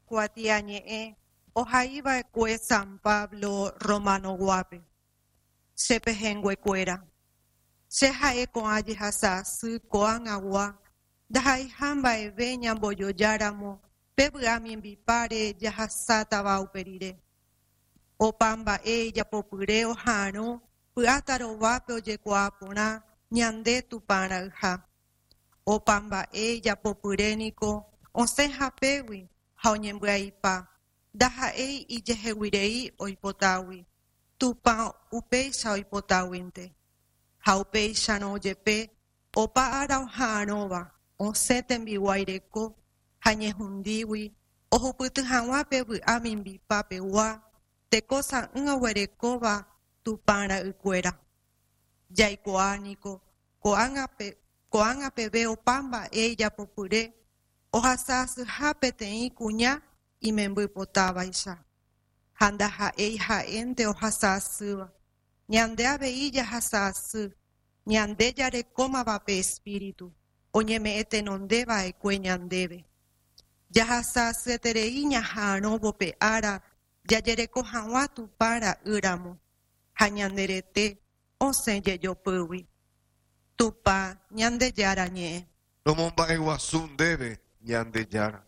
Kuatiañe'ẽ ohaiva'ekue San Pablo Romano-guápe. Che pehẽnguekuéra, che ha'e ko'ã jehasa asy ko'ág̃agua ndaha'eiha mba'eve ñambojojáramo pe vy'a mimbipáre jahasátava upe rire. Opa mba'e ijapopyre oha'arõ py'a tarovápe ojekuaa porã ñande Tupã ra'yha. Opa mba'e ijapopyre niko osẽ hapégui ha oñembyaipa, ndaha'éi ijeheguirei oipotágui, Tupã upéicha oipotáguinte. Ha upéicharõ jepe opa ára oha'arõva osẽ tembiguái reko ha ñehundígui ohupyty hag̃ua pe vy'a mimbipa pegua teko sa'ỹ oguerekóva Tupã ra'ykuéra. Jaikuaa niko ko'ág̃a peve opa mba'e ijapopyre ohasa asyha peteĩ kuña imemby potávaicha. Ha ndaha'éi ha'énte ohasa asýva, ñande avei jahasa asy, ñande jarekómava pe Espíritu oñeme'ẽ tenonde va'ekue ñandéve. Jahasa asyeterei ñaha'arõvo pe ára jajereko hag̃ua Tupã ra'y ramo, ha ñande rete osẽ jejopýgui. Tupã Ñandejára ñe'ẽ. Romomba'eguasu ndéve, Ñandejára.